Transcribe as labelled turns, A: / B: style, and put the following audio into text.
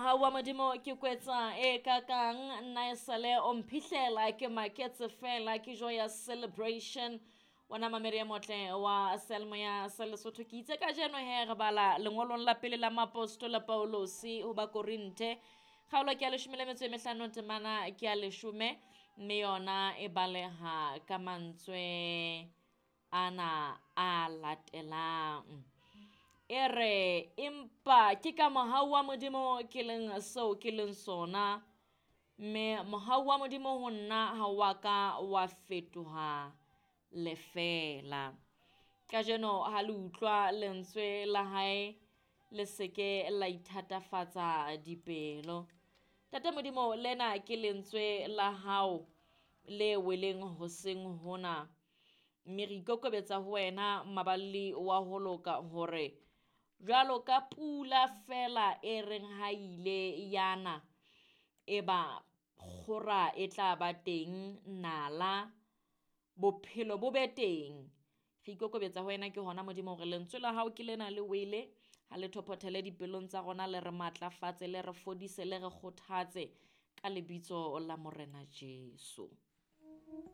A: Mohau wa Modimo ke kwetsa e kakang nna esale o mphihlela ke maketse fela ke joyous celebration. Wena mamedi e motle wa seyalemoya sa Lesotho, ke itse kajeno he re bala lengolong la pele la Maapostola Paulosi ho Bakorinthe, kgaolo ke ya 15, temana ke ya 10, mme yona e baleha ka mantswe ana a latelang. E re, empa ke ka mohau wa Modimo ke leng seo ke leng sona, mme mohau wa Modimo ho nna ha wa ka wa fetoha lefeela. Kajeno ha le utlwa lentswe la hae, le se ke la ithatafatsa dipelo. Ntate Modimo, lena ke lentswe la hao le weleng hoseng hona, mme re ikokobetsa ho wena maballi wa ho loka hore jwalo ka pula fela e reng ha ile yana eba kgora e tla ba teng, nala bophelo bo be teng. Re ikokobetsa ho wena ke hona Modimo hore lentswe la hao ke lena le wele, ha le thophothele dipelong tsa rona, le re matlafatse, le re fodise, le re kgothatse ka lebitso la Morena Jesu.